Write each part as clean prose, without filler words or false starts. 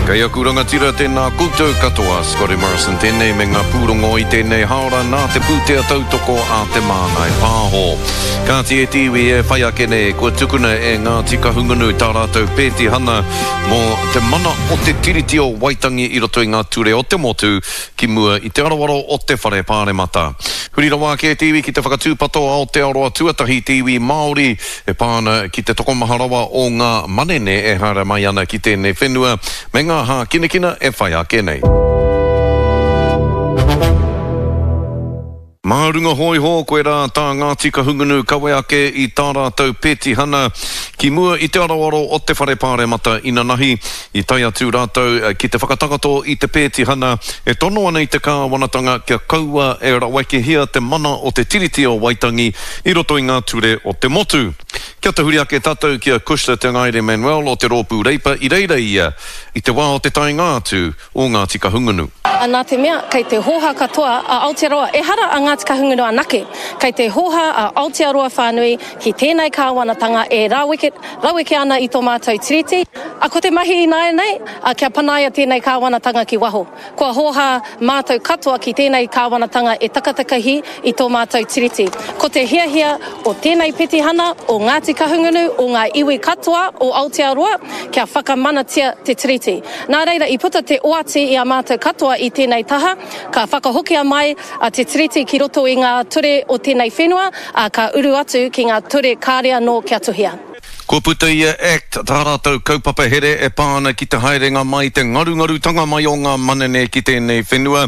Kei aku rangatira tēnā koutou katoa, Scotty Morrison tēnei me ngā pūrongo i tēnei haora nā te pūtea tautoko a Te Māngai Pāho. Kāti e te iwi e whai ake nei, kua tukuna e Ngāti Kahungunu tā rātou pētihana mō te mana o te Tiriti o Waitangi i roto i ngā ture o te motu ki mua i te aroaro o te Whare Pāremata. Huri rawa ake te iwi ki te whakatūpato Aotearoa tuatahi te iwi Māori e pā ana ki te tokomaha rawa o ngā manene e haere mai ana ki tēnei whenua me ngā hākinakina e whai ake nei. Mā runga hōiho, koirā tā Ngāti Kahungunu kawe ake i tā rātou pētihana ki mua i te aroaro o te Whare Pāremata inanahi. I tae atu rātou ki te whakatakoto i te pētihana e tono ana i te kāwanatanga kia kaua e rawekehia te mana o te Tiriti o Waitangi i roto i ngā ture o te motu. Kia tahuri ake tātou ki a Cushla Te Ngaere Manuel o te Rōpū Reipa i reira ia i te wā o te taenga atu o Ngāti Kahungunu. Nā te mea, kei te hōhā katoa a Aotearoa, ehara a Ngāti Kahungunu anake, kei te hōhā a Aotearoa whānui ki tēnei kāwanatanga e raweke, raweke ana i tō mātou Tiriti. A ko te mahi ināianei, a kia panaia tēnei kāwanatanga ki waho. Kua hōhā mātou katoa ki tēnei kāwanatanga e takatakahi i tō mātou Tiriti. Ko te hiahia o tēnei petihana, o Ngāti Kahungunu, o ngā iwi katoa o Aotearoa, kia whakamanatia te Tiriti. Nā reira i puta te oati i a mātou katoa i tēnei taha, ka whakahokia mai te Tiriti ki roto i ngā ture o tēnei whenua, ā, ka uru atu ki ngā ture kāre anō kia tuhia. Kua puta i a act tā rātou kaupapa here e pā ana ki te haerenga mai, te ngarungarutanga mai o ngā manene ki tēnei whenua.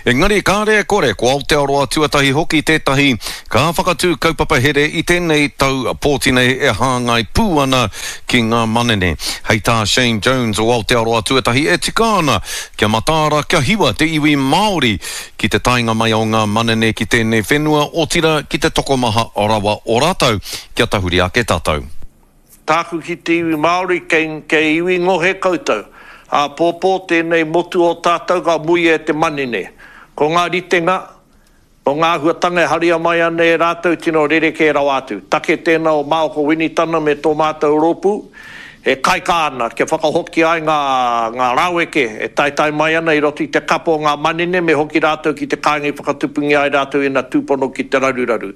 Engari kāre e kore, ko Aotearoa tuatahi hoki tētahi ka whakatū kaupapa here i tēnei tau pōti nei e hāngai pū ana ki ngā manene. Hei tā Shane Jones o Aotearoa tuatahi e tika ana kia mataara, kia hiwa te iwi Māori ki te taenga mai o ngā manene ki tēnei whenua, otirā ki te tokomaha rawa o rātou. Kia tahuri ake tātou. Tāku ki te iwi Māori, kei, kei iwi ngohe koutou. Āpōpō tēnei motu o tātou ka muia e te manene. Ko ngā ritenga, o ngā āhuatanga e haria mai ana e rātou tino rerekē rawa atu. Take tēnā o Maoko Winitana me tō mātou rōpū, e kaikā ana kia whakahokia ai ngā, ngā raweke e taetae mai ana i roto i te kapo o ngā manene me hoki rātou ki te kāinga i whakatupungia ai rātou ina tūpono ki te raruraru.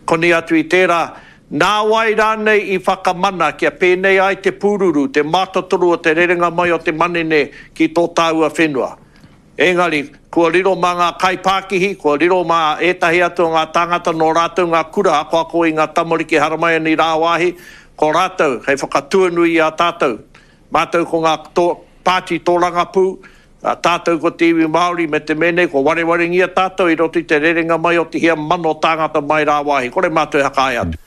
Koni atu i tērā, nā wai rānei i whakamana kia pēnei ai te pūruru, te mātotoru o te rerenga mai o te manene ki tō tāua whenua? Engari, kua riro mā ngā kaipākihi, kua riro mā ētahi atu o ngā tāngata nō rātou ngā kura akoako i ngā tamariki haramai ana i rāwāhi, ko rātou hei whakatuanui i a tātou. Mātou ko ngā pāti tōrangapū, tātou ko te iwi Māori me te mea nei kua warewarengia tātou i roto i te rerenga mai o te hia mano tāngata mai rāwāhi, kore mātou e whakaae atu.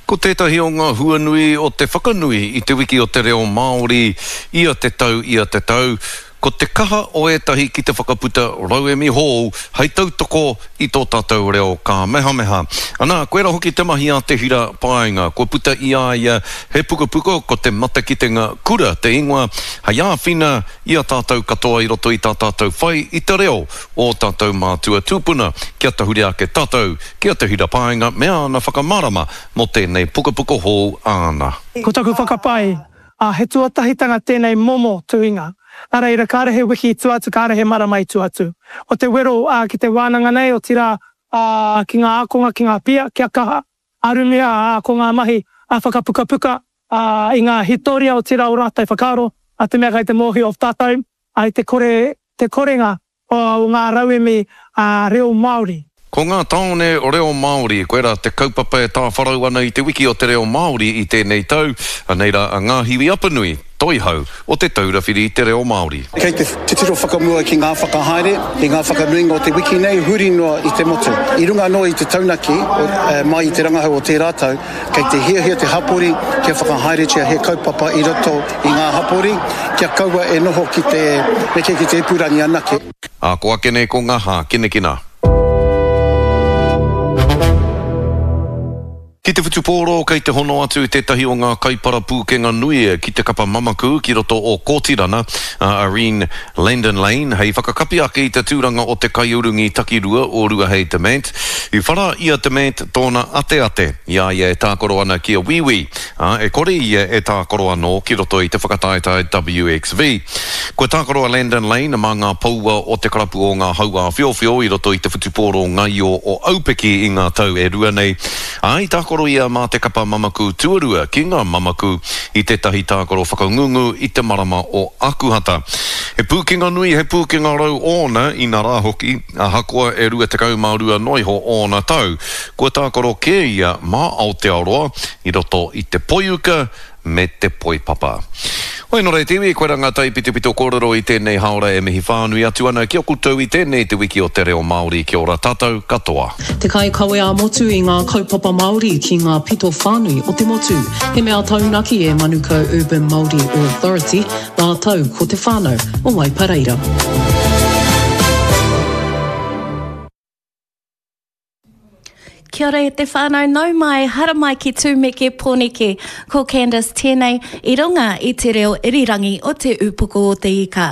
Ko tētahi o ngā huanui o te whakanui i Te Wiki o te Reo Māori ia te tau ia te tau, ko te kaha o ētahi ki te whakaputa rauemi hou hei tautoko i tō tātou reo kāmehameha. Anā, koirā hoki te mahi a Te Hira Paenga, kua puta i a ia he pukapuka ko Te Matakitenga Kura te ingoa, hei āwhina i a tātou katoa i roto i tā tātou whai i te reo o ō tātou mātua tūpuna, kia tahuri ake tātou ki a Te Hira Paenga me āna whakamārama mō tēnei pukapuka hou āna. Ko taku whakapae, ā, he tuatahitanga tēnei momo tuhinga. Nā reira, kāre he wiki i tua atu, kāre he marama i tua atu. Ko te wero, ā, ki te wānanga nei, otirā, ā, ki ngā ākonga, ki ngā pia, kia kaha, arumia, ā, ko ngā mahi, ā, whakapukapuka, ā, i ngā hitoria otirā o rātou whakaaro, ā, te mea kei te mōhio of tātou, ā, i te kore, te korenga o ngā rauemi reo Māori. Ko ngā tāone reo Māori, koirā te kaupapa e tāwharau ana i te wiki o te reo Māori i tēnei tau, anei rā a Ngāhiwi Apanui, Toihau o Te Taura Whiri i te Reo Māori. Kei te titiro whakamua ki ngā whakahaere i ngā whakanuinga o te wiki nei huri noa i te motu. I runga anō i te taunaki mai i te rangahau o tērā tau, Kei te hiahia te hapori kia whakahaeretia he kaupapa i roto i ngā hapori, kia kaua e noho ki te neke ki te ipurangi anake. Ā, ko ake nei ko ngā hākinakina. Ki te whutupōro kei te hono atu tētahi o ngā kaipara pūkenga nui ki te kapa mamaku ki roto o Kōtirana. a Irene Landon Lane hei whakakapi ake i te tūranga o te kaiurungi takirua o Ruahei Demant. I whara i a Demant tōna ateate i a ia e tākaro ana ki a Wīwī, ā, e kore ia e tākaro anō ki roto i te whakataetae WXV. Kua tākaro a Landon Lane mā ngā poua o te karapu o ngā hauāwhiowhio i roto i te whutupōro ngaio o Aupiki i ngā tau e rua nei, Ā, i tākaro ia mā te kapa mamaku tuarua ki ngā mamaku i tētahi tākaro whakangungu i te marama o Akuhata. He pūkenga nui, he pūkenga rau ōna, inarā hoki, ahakoa e 22 noa iho ōna tau, kua tākaro kē ia mā Aotearoa i roto i te poiuka me te poipapa. Hoi nō reira te iwi, koirā ngā taipitopito kōrero i tēnei hāora e mihi whānui atu ana ki a koutou i tēnei te wiki o te reo Māori kia ora tātou katoa. Te kaikawe ā-motu i ngā kaupapa Māori ki ngā pito whānui o te motu. He mea taunaki e Manukau Urban Māori Authority rātou ko te whānau o Waipareira. Kia ora e te whānau, nau mai, haramai ki Tūmeke Pōneke. Ko Candice tēnei, i runga i te reo irirangi o Te Ūpoko o te Ika.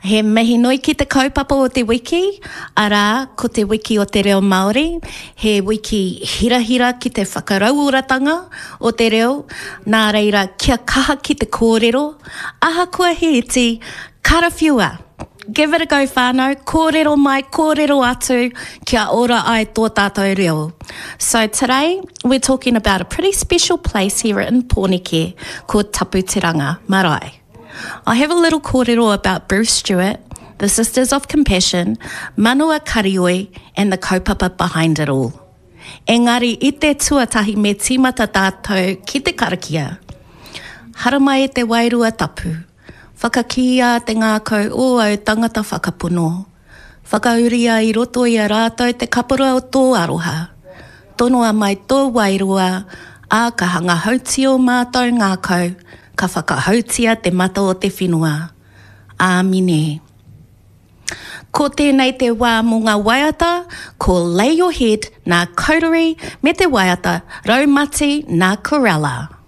He mihi nui ki te kaupapa o te wiki, arā, ko te wiki o te reo Māori, he wiki hirahira ki te whakarauoratanga o te reo, nā reira, kia kaha ki te kōrero, ahakoa he iti, karawhiua! Give it a go whānau, kōrero mai, kōrero atu, kia ora ai tō tātou reo. So today, we're talking about a pretty special place here in Pōneke called Taputeranga Marae. I have a little kōrero about Bruce Stewart, the Sisters of Compassion, Manoa Karioi and the kaupapa behind it all. Engari i te tuatahi me tīmata tātou ki te karakia. Haramai e te wairua tapu. Whakakīia te ngākau o au tangata whakapono. Whakauria i roto i a rātou te kapura o tō aroha. Tonoa mai tō wairua, ā, ka hanga hautia ō mātou ngākau, ka whakahautia te mata o te whenua. Āmine. Ko tēnei te wā mō ngā waiata, ko Lay Your Head nā Coterie me te waiata Raumati nā Corella.